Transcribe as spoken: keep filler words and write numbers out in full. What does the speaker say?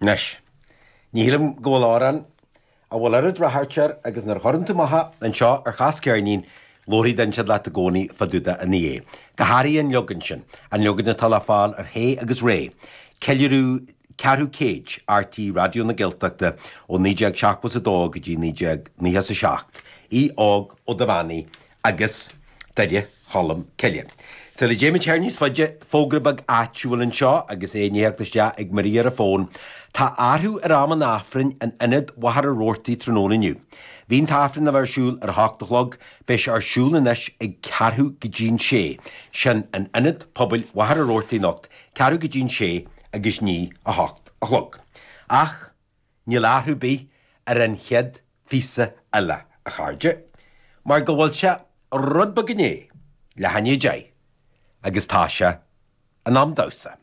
Anois, ní shílim go bhfuil amhrán a bhfuil oiread ráchairt air agus nuair a chuireann tú amach é anseo ar Chas Ceirnín, labharfaidh duine inteacht leat i gcónaí fá dtaobh de ina dhiaidh. Go háirithe an leagan sin, an leagan atá le fáil ar Shay agus Ray, ceiliúradh ceathrú céid RTÉ Raidió na Gaeltachta ó naoi déag seachtó is a dó go dtí naoi déag nócha is a seacht, Aodh Óg Ó Duibheannaigh agus Doire Cholm Cille. Sula dtéimid thiar níos faide, fógra beag áitiúil anseo agus é i ndiaidh theacht isteach ag Maria ar an bhfón. Tá athrú ar am an Aifrinn in Ionad Mhachaire Rabhartaigh tráthnóna inniu. Bhí an tAifreann le bheith ar siúl ar a hocht a chlog, beidh sé ar siúl anois ag ceathrú go dtí'n sé. Sin in Ionad Pobail Mhachaire Rabhartaigh anocht, ceathrú go dtí'n sé agus ní a hocht a chlog. Ach níl athrú ar bith ar an chéad phíosa eile, a chairde, mar go bhfuil sé rud beag i ndiaidh leath i ndiaidh a deich agus tá sé in am damhsa.